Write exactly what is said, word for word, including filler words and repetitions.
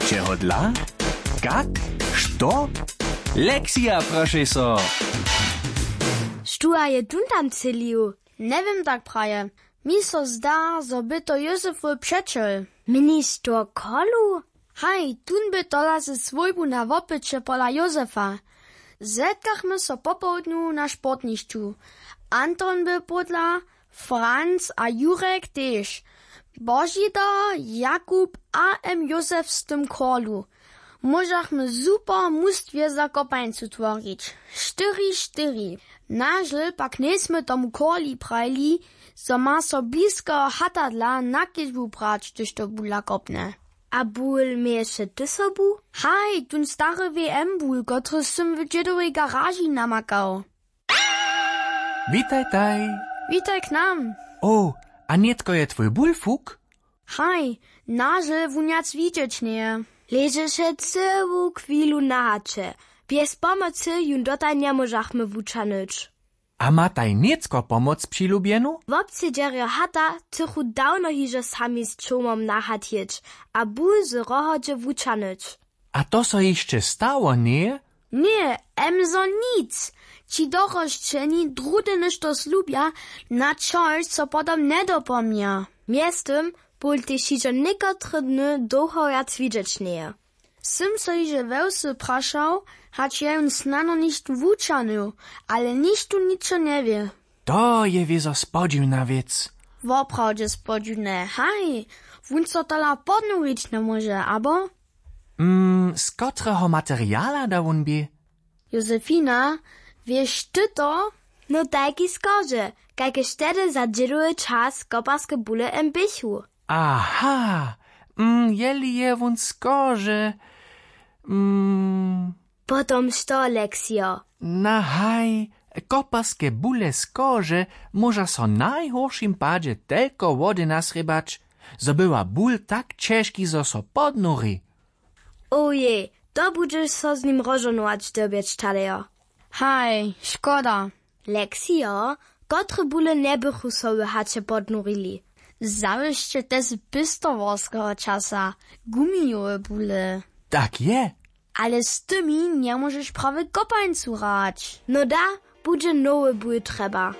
Čehodla? Kak? Što? Lexija, prošej so. Štó a je tón tam třělił? Njewěm tak praje. Mi so zda, zo by to józefowy přećel. Měniš to kolu? Haj, tón by tola ze swójbu na wopyće pola józefa. Zetkachmy so popołdnju na sportnišću. Anton by pódla, franc a jurek tež. Božidar, jakub a m józef z tym kolu. Móžachmy super mustwje za kopańcu tworić. Štyri štyri. Nažel pak njejsmy tomu koli prajili, zo ma so blisko hatadla na kedźbu brać, hdyž to bula kopne. A bul měješe ty sobu? Haj, tón stary w m bul, kotryž sym w dźědowej garaži namakał. Witajtaj. Witaj k nam. O, a nětko je twój bul fuk? Haj, nažel wón wjac widźeć njeje. Ležeše cyłu chwilu na haće. Bjez pomocy jón dotal njemóžachmy wućahnyć. A mataj nětko pomoc přilubjenu? Wobsedźerjo hata chcychu dawno hižo sami z čołmom na hat jěć a bul z rohodźe wućahnyć. A to so hišće stało, njeje? Ně, emzo nic. Ći dorosćeni druhdy něšto slubja, na čož so potom njedopoměja. Mjeztym bul tež hižo někotre dny dołho wjac widźeć njeje. Sym so hižo we wsy prašał, hač je jón snano něšto wućahnył, ale nichtó ničo njewě. To je wězo spodźiwna wěc. Woprawdźe spodźiwne, haj. Wón so tola podnurić njemóže, abo? Mm, z kotreho materiala da wón bě? Josefina, wěš ty to? No tajki skorže, kajkež tehdy za dźědowy čas koparske bule m běchu. Aha. Mm, jeli je wón skorže. Mm. Potom što, Leksijo? Na haj, koparske bule skorže móža so w najhóršim padźe telko wody nasrěbać, zo była bul tak ćežki, zo so podnuri. Owjej, to budźeš so z nim rozžohnować dyrbjeć, talejo. Haj, škoda. Leksijo, kotre bule njebychu so w haće podnurili? Zawěsće tež z pěstowarskeho časa, gumijowe bule. Tak je. Ale z tymi njemóžeš prawje kopańcu hrać. No da, budźe nowy bul trjeba.